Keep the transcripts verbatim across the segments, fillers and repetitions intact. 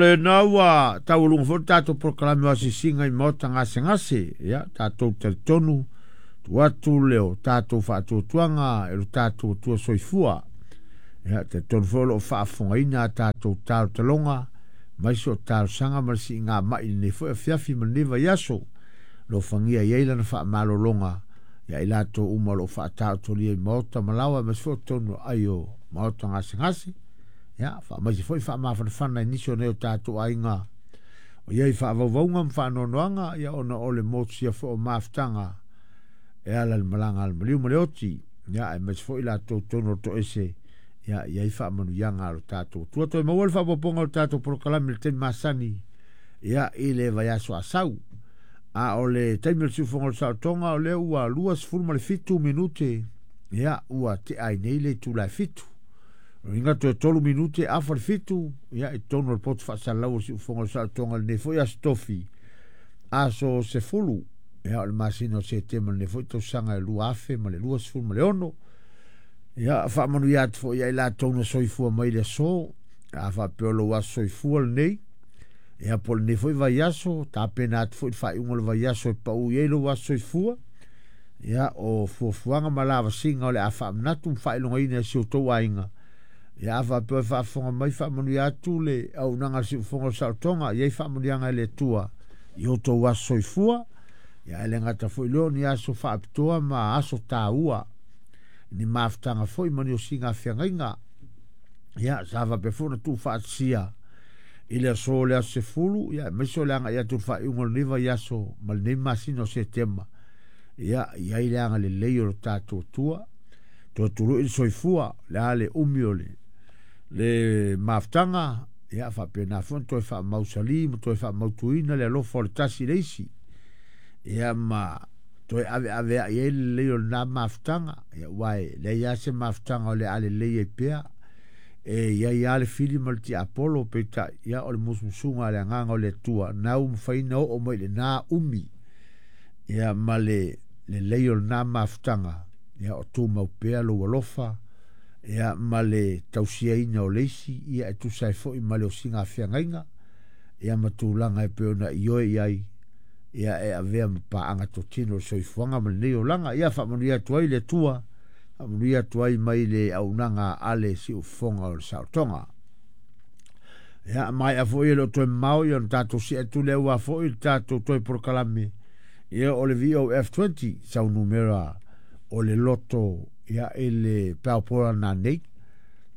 lena ua taualuga foi le tatou polokalame o asiasiga i maota gasegase. Ia tatou talitonu tuu atu le o tatou faatuatuaga e lo tatou Atua soifua. Ia talitonu foi o loo faafofogaina a tatou talotaloga mai so talosaga ma le siigamai i lenei foi afiafi ma lenei vaiaso. Alofagia i ai lana faamalologa ia i latou uma o loo faataotolia i maota ma laoa aemaise foi o totonu o aai o maota gasegase. Ia faamaise foi faamafanafana i nisi o nei o tatou aiga o iai faavauvauga ma faanoanoaga, ia ona o le motusia foi o mafutaga e ala i le malaga a le maliu ma le oti. Ia aemaise foi latou totonu o le toese, ia iai faamanuiaga a lo tatou Atua. Toe maua le faaopoopoga o le tatou polokalame i le taimi masani, ia i le vaiaso asau. A o le taimi o le siufofoga o le saolotoga o lea ua luasefulu ma le fitu minute, ia ua tea ai nei le itula e fitu. O uiga toe tolu minute afa le fitu, ia i totonu o le poto faasalalau o le siufofoga o le saolotoga i lenei foi aso tofi, aso sefulu, ia o le masina o Setema lenei foi tausaga e lua afe ma le luasefulu ma le ono. Ia faamanuia atu foi ia i latou na soifua mai le aso, a faapea o lou aso soifua lenei, ia po o lenei foi vaiaso, tapena atu foi le faaiuga o le vaiaso e pau i ai lou aso soifua. Ia o fuafuaga ma lavasiga o le a faamanatu ma faailogaina e si o outou aiga. Ia a faapea e faafofoga mai, faamanuia atu le auaunaga a le siufofoga o le saolotoga, i ai faamanuiaga e le Atua i outou aso soifua. Ia e le gata foi lea o ni aso faapitoa ma aso taua, ni mafutaga foi ma ni osiga feagaiga. Ia sa faapea foi ona tuufaatasia i le aso o le aso sefulu, ia aemaise o le agai atu i le faaiuga o lenei vaiaso ma lenei masina o Setema. Ia i ai le agalelei o lo tatou Atua, toe tului le soifua, le a le umi o le le mafutaga, ia faapena foi ona toe faamausali ma toe faamautuina le alofa o le tasi i le isi. Ia ma toe aveaveai ai le lelei o lena mafutaga, ia aua e leai lava se mafutaga o le a lelei ai pea. E i ai lava le fili ma le tiapolo, peitai, ia o le musumusuga a le agaga o le Atua, na ua mafai ona oo mai i lena umi, ia ma le lelei o lena mafutaga, ia o tumau pea lou alofa, ia ma le tausiaina o le isi, ia e tusa ai foi ma le osiga feagaiga, ia ma tulaga e pei ona ioe i ai, ia e avea ma paaga totino o le soifuaga ma lenei olaga. Ia faamanuia atu ai le Atua, faamanuia atu ai mai le auaunaga a le siufofoga o le saolotoga. Ia maea foi e le o toe mamao, ia ona tatou see atu lea aua foi le tatou toe polokalame, ia o le V O F twenty sau numera o le loto, ia i le paopola nanei.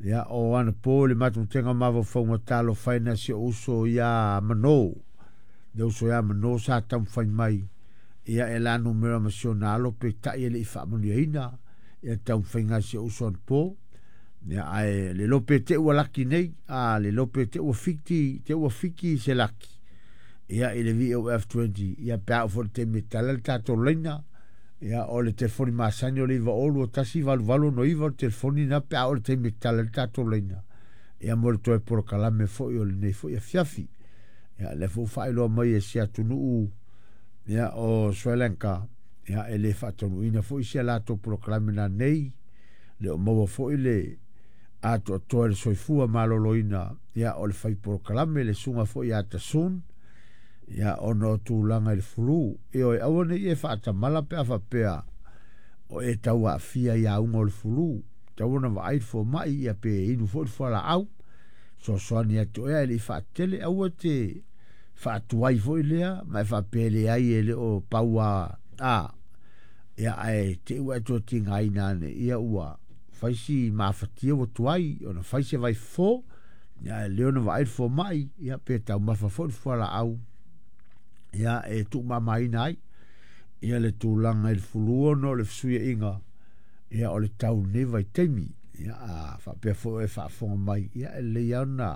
Ia o ana po le matamutega mafaufauga talofaina si o uso ia Mano. Le uso ia Mano sa taumafai mai, ia e la numera ma si ona alo peitai e le i faamanuiaina, ia taumafaiga si o uso anapo. Ia ae le lope te ua laki nei, a le lope te ua fiki, te ua fiki se laki. Ia i le V O F twenty, ia pe a o foi le taimi e tala le tatou laina, ia o le telefoni masani o le iva olu o tasi valu valu no iva o le telefoni na pe a o le taimi e tala le tatou laina. Ia mo le toe polokalame foi o lenei foi afiafi. Ia le fou faailoa mai e si atunuu, ia o Sri Lanka, ia e le faataunuuina foi si a latou polokalame na nei, le o maua foi le atoatoa le soifua maloloina, ia o le fai polokalame le suga foi ia Tasun, ia ona o tulaga i le fulu. E oe aua nei e faatamala pe a faapea o e tau aafia i auga o le fulu, tau ona vaai le fomai, ia pe inu foi le fualaau, soasoani atu ea e le i faatele, aua te faatuai foi lea, ma e faapea leai e le o paua a, ia ae te ua e toe tigaina ane, ia ua fai si mafatia ua tuai, ona fai se vai fofo, ia e le ona vaai le fomai, ia pe taumafa foi le fualaau, ia e tuumamaina ai, ia le tulaga i le fulu ona o le fesuiaiga, ia o le tau lenei vaitaimi. Ia a faapea foi e faafofoga mai, ia e lelei lava ona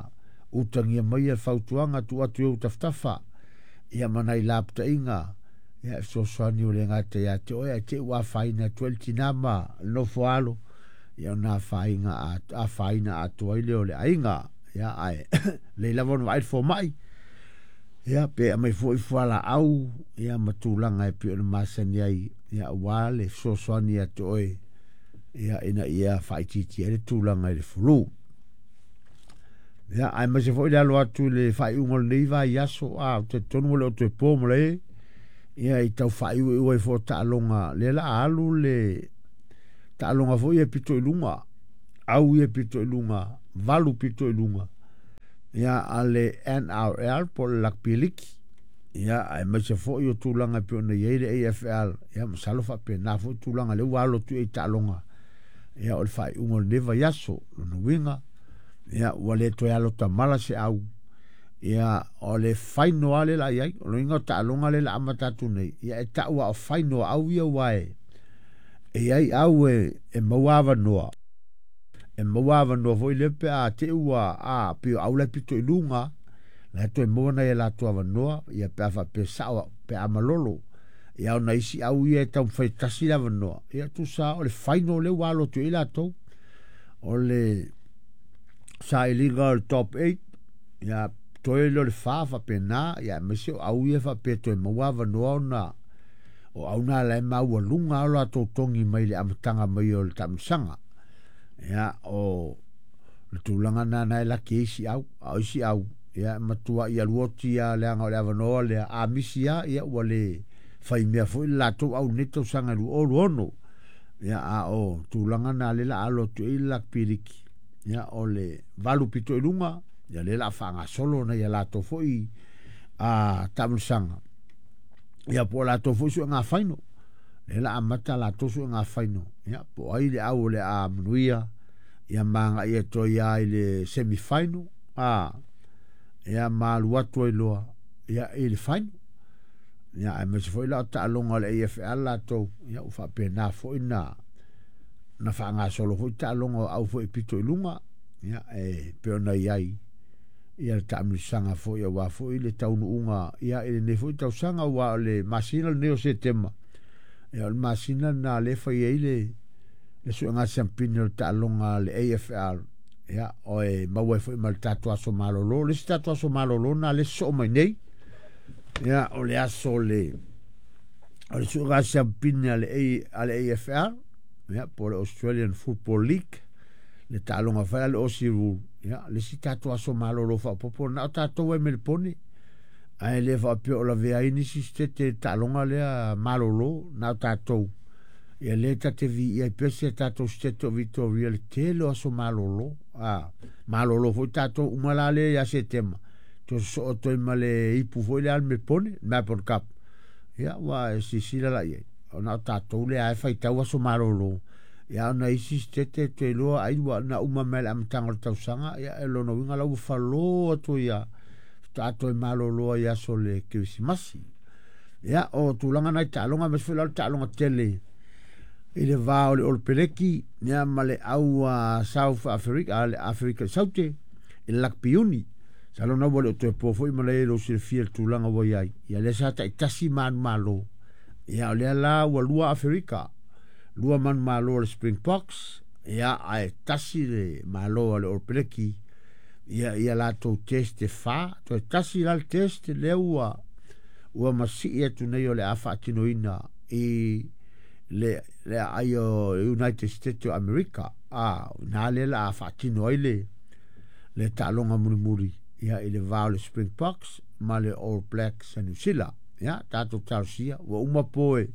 utagia mai le fautuaga tuu atu i ou tafatafa, ia ma nai lapataiga, ia e fesoasoani o le gata ia te oe, ae te i ua afaina atu ai le tina ma le nofo alo, ia ona afaina afaina atoa ai lea o le aiga. Ia ae lelei lava ona vaai le fomai, ia pe aumai foi fualaau, ia ma tulaga e pei ona masani ai, ia aua le fesoasoani ia te oe, ia ina ia faaitiitia ai le tulaga i le fulu. Ia aemaise foi le alo atu i le faaiuga o lenei vaiaso a ou talitonu ua le o toe po ma le ia i tau faaiuiu ai foi o taaloga lea la a alu le taaloga foi e pito i luga au ia pito i luga valu pito i luga ia a le N R L po o le Rugby League ia aemaise foi o tulaga e pei ona i ai le A F L ia masalo faapena foi tulaga lea ua alo atu i taaloga ia o le faaiuga o lenei vaiaso lona uiga ia ua le toe alo tamala se au ia o le faino lava le la i ai o le uiga o taaloga le la amata atu nei ia e tau a o faino au ia ua e e i ai au e e maua avanoa e maua avanoa foi lea pe a te ua a pei o au la pito i luga la toe maua nai e latou avanoa ia pe a faapea sao pe a malolo ia ona isi au ia e taumafai tasi le avanoa ia tusa o le faino lea ua alo atu i ai latou o le sailiga o le top eight ia toe lea o le fa faapena ia aemaise o au ia faapea toe maua avanoa ona o au na la e maualuga o latou togi mai le amataga mai o le taamilosaga ia o le tulaga na na e laki ai isi au a o isi au ia matua i alu oti a leaga o le avanoa lea a misi a ia ua le faimea foi le latou au nei tausaga lua o lua ono ia a o tulaga na le la alo atu ai le Rugby League ia o le valu pito i luga ia le la faagasolo na ia latou foi a taamilosaga ia po o latou foi suega faino le la amata latou suega faino ia po o ai le au o le a manuia ia maga ia toe ia i le semi final a ia ma alu atu ai loa ia i le final ia aemaise foi la o taaloga o le A F L latou ia ua faapena foi na na faagasolo foi taaloga o au foi pito i luga ia e pei ona i ai ia le taamilosaga foi aua foi le taunuuga ia i lenei foi tausaga ua o le masina lenei o Setema ia o le masina na le fai ai le le suega siampini o le taaloga a le A F L ia o e maua ai foi ma le tatou aso malolo le isi tatou aso malolo na le soo mai nei ia o le aso le o le suega siampini a le A a le A F L ia po o le Australian Football League le taaloga fai a le Aussie Rule ia le isi tatou aso malolo faaopoopo na o tatou ai Melepone ae le faapea o lavea ai nisi sitete taaloga lea malolo na o tatou ia le tate viia ai pea si a tatou sitete o Victoria le tele o aso malolo a malolo foi tatou uma la lea ia Setema toe sosoo atu ai ma le ipu foi lea a le Melepone Melbourne Cup ia ua e silasila la i ai ona o tatou lea e faitau aso malolo ia ona isi sitete toe iloa ai ua na uma mai le amataga o le tausaga ia e lona uiga la ua falo atu ia faatoa toe malolo ai aso le Kerisimasi ia o tulaga nai taaloga aemaise foi la o le taaloga tele i le va o le Olopeleki ia ma le au a South Africa a le Afrika i Saute i le Rugby Uni masalo na ua le o toe po foi ma le lou silafia le tulaga ua i ai ia lea sa taitasi manumalo ia o lea la ua lua Afrika lua manumalo o le Springboks ia ae tasi le malo a le Olopeleki ia ia latou test e fa toe tasi la le test lea ua ua masii atu nei o le a faatinoina i le le aai o United States o America a na le la a faatino ai le le taaloga mulimuli ia i le va o le Springboks ma le All Blacks a New Zealand ia tatou talosia ua uma poe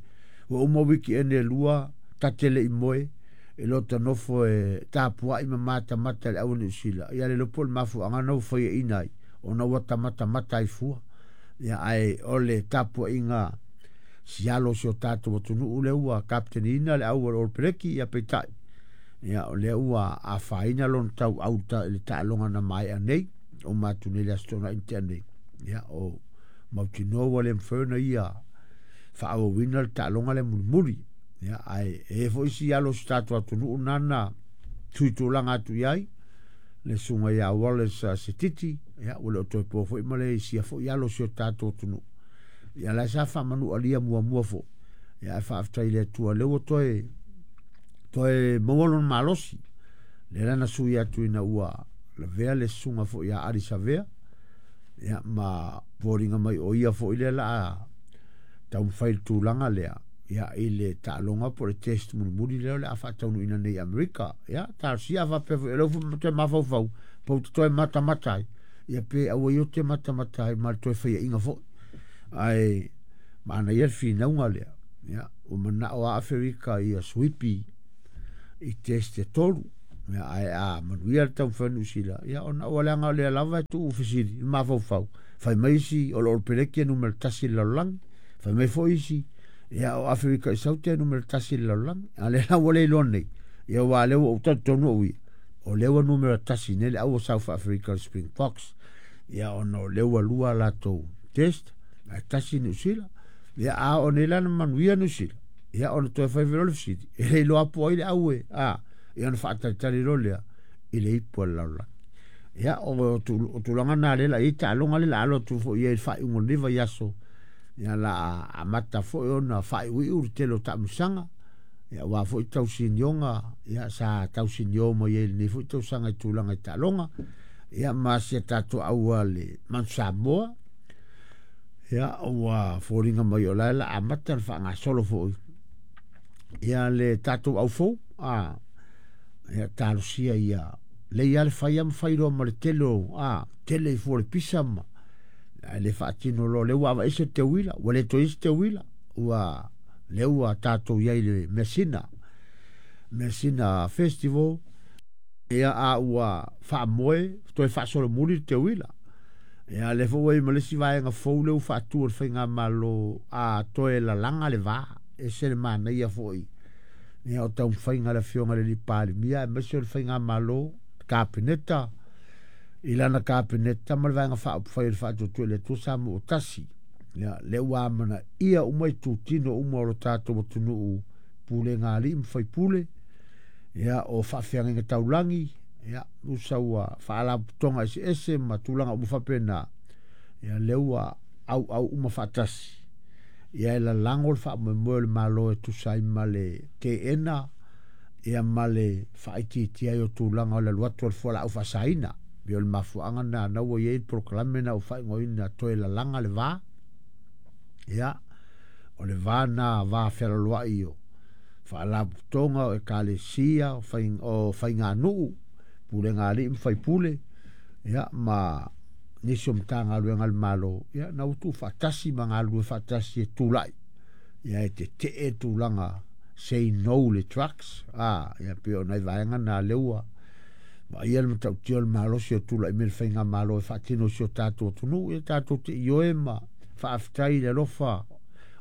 ua uma weekend e lua tate le i moe e lota nofo e tapuai ma matamata le au New Zealand ia le lopo le mafuaaga na ua faiaina ai ona ua tamatamata ai fua ia ae o le tapuaiga sialo si o tatou atunuu lea ua kapiteniina le au o le Olopeleki ia peitai ia o lea ua afaina lona tauau i le taaloga na maea nei o matu nei le aso Toonai na tea nei ia o mautinoa ua le mafai ona ia faaauauina le taaloga lea mulimuli ia ae e foi si alo o si tatou atunuu nana tuitulaga atu i ai le susuga ia Wallace Setiti ia ua le o toe po foi ma le isia foi alo o si o tatou atunuu ia la sa faamanualia muamua foi ia ae faafetai i le Atua lea ua toe toe maua lona malosi lea la na sui atu ina ua lavea le susuga foi ia Ali Savea ia ma foliga mai o ia foi lea la a taumafai le tulaga lea Ia i le taaloga po o le test mulimuli lea o le a faataunuuina nei i Amerika. Ia talosia a faapea foi o lea ua toe mafaufau pe ou te toe matamata ai, ia pe aua ia ou te matamata ai ma le toe faiaina foi. Ae manaia le finauga lea. Ia ua manao lava Aferika ia suipi i test e tolu. Ia ae a manuia le taumafai o Niu Sila, ia ona ua leaga o lea lava e tuu fesili i le mafaufau, fai mai isi o le Olopeleki e numera tasi i le lalolagi, fai mai foi isi, ia o Aferika i Saute e numera tasi i le lalolagi. A o lea la ua le iloa nei, ia aua o lea ua ou talitonu au ia, o lea ua numera tasi nei le au o South Africa le Springboks, ia ona o lea ua lua a latou test, ae tasi Niu Sila. Ia a oo nei la na manuia Niu Sila, ia ona toe fai foi loa le fesili, e le iloa po o ai le au e, a, ia ona faatalitali loa lea i le ipu a le lalolagi. Ia o, o tulaga na lea la i ai taaloga lea la alo atu foi i ai i le faaiuga o lenei vaiaso, ia la amata foi ona faaiuiu le tele o taamilosaga, ia aua foi tausinioga, ia sa tausinio mai ai i lenei foi tausaga i tulaga i taaloga, ia ma si a tatou au a le Manu Samoa, ia ua foliga mai o la e la amata ona faagasolo foi ia le tatou au fou, a ia talosia ia lei lava le fai lava ma fai loa ma le tele o a tele i fua o le pisa ma ae le faatino loa lea ua aveese le teuila ua le toe i ai se teuila ua lea ua tatou i ai i le measina measina festival ia a ua faamoe toe faasolomuli le teuila. Ia lea foi ua i ai ma le isi vaega fou lea ua faatu e le faigamalo a toe lalaga le va, ese le manaia foi ia o taumafaiga a le afioga i le Palemia aemaise o le faigamalo Kapeneta i lana Kapeneta ma le vaega faaupufai o le Faatuatua i le Atua Samoa ua tasi. Ia lea ua amanaia uma itutino uma o lo tatou atunuu, pulega a alii ma faipule, ia o faafeagaiga taulagi, ia usa ua faalapotopotoga eseese ma tulaga uma faapena, ia lea ua auau uma faatasi. Ia e lalago le faamoemoe o le Malo e tusa ai ma le teena ia ma le faaitiitia ai o tulaga o le alu atu o le fualaau faasaina. Pei o le mafuaaga lena na ua i ai le polokalame na ua faaigoaina toe lalaga le va. Ia, o le va na va fealoloai o faalapotopotoga o ekalesia, o, fai, o faiganuu, pulega a alii ma faipule, ia, ma nisi o Matagaluega a le Malo, ia, na ua tuufaatasi ma galulue faatasi e tulai, ia e tetee tulaga say no le drugs, a, ia pei o nai vaega na lea ua vaaia le matautia o le malosi o tulai mai le faigamalo e faatino i si o tatou atunuu, ia tatou te ioe ma faafetai i le alofa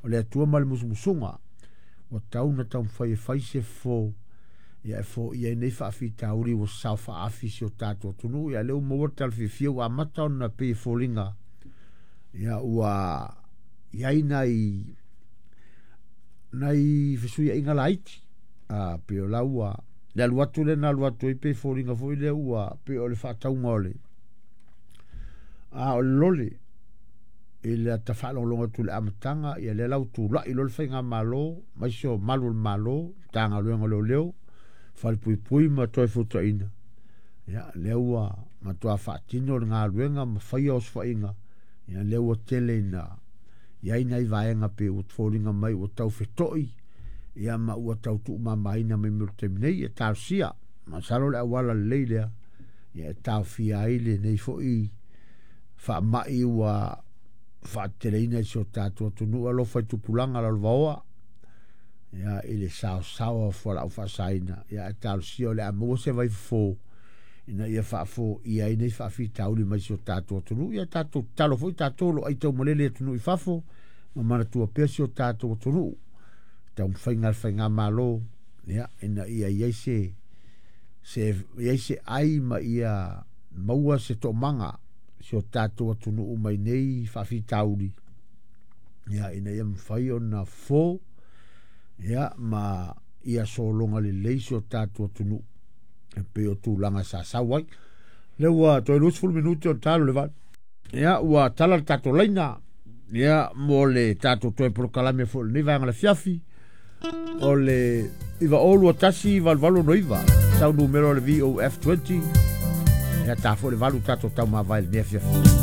o le Atua ma le musumusuga ua tau na taumafai e fai se fofo ia e foia ai nei faafitauli ua sao faaafi si o tatou atunuu. Ia lea ua maua le tala fiafia ua amata ona pei e foliga ia ua i ai nai nai fesuiaiga laiti, a pei o la ua le alu atu lea na alu atu ai pei e foliga foi lea ua pei o le faatauga o le a o le lole i le ata faalogologo atu i le amataga. Ia lea la ua tulai loa le faigamalo aemaise o malu o le Malo, Matagaluega o Leoleo, Falepuipui ma Toefuataina, ia lea ua matua faatino le galuega ma faia osofaiga. Ia lea ua tele ina i ai nai vaega pei ua foliga mai ua tau feto'i ia ma ua tau tuumamaina mai mo le taimi nei. Ia talosia, masalo le auala lelei lea ia e taofia ai lenei foi faamai ua faateteleina i si o tatou atunuu. Alofa i tupulaga lalovaoa ia i le saosaoa o fualaau faasaina, ia ae talosia o le a maua se vaifofo ina ia faafoia ai nei faafitauli mai si o tatou atunuu. Ia tatou tatalo foi tatou o lo o aitaumalele i atunuu i fafo ma manatua pea si o tatou atunuu taumafaiga a le faigamalo, ia ina ia i ai se se i ai se ai ma ia maua se toomaga si o tatou atunuu mai nei faafitauli, ia ina ia mafai ona fofo ia ma ia sologa lelei si o tatou atunuu e pei o tulaga sa sau ai. Lea ua toe luasefulu minute o talo le valu. Ia ua tala le tatou laina ia mo le tatou toe polokalame foi lenei vaega le afiafi o le iva o lua tasi valu valu ono iva sau numera o le V O F twenty. Ia ta foi le valu tatou taumavae i lenei afiafi.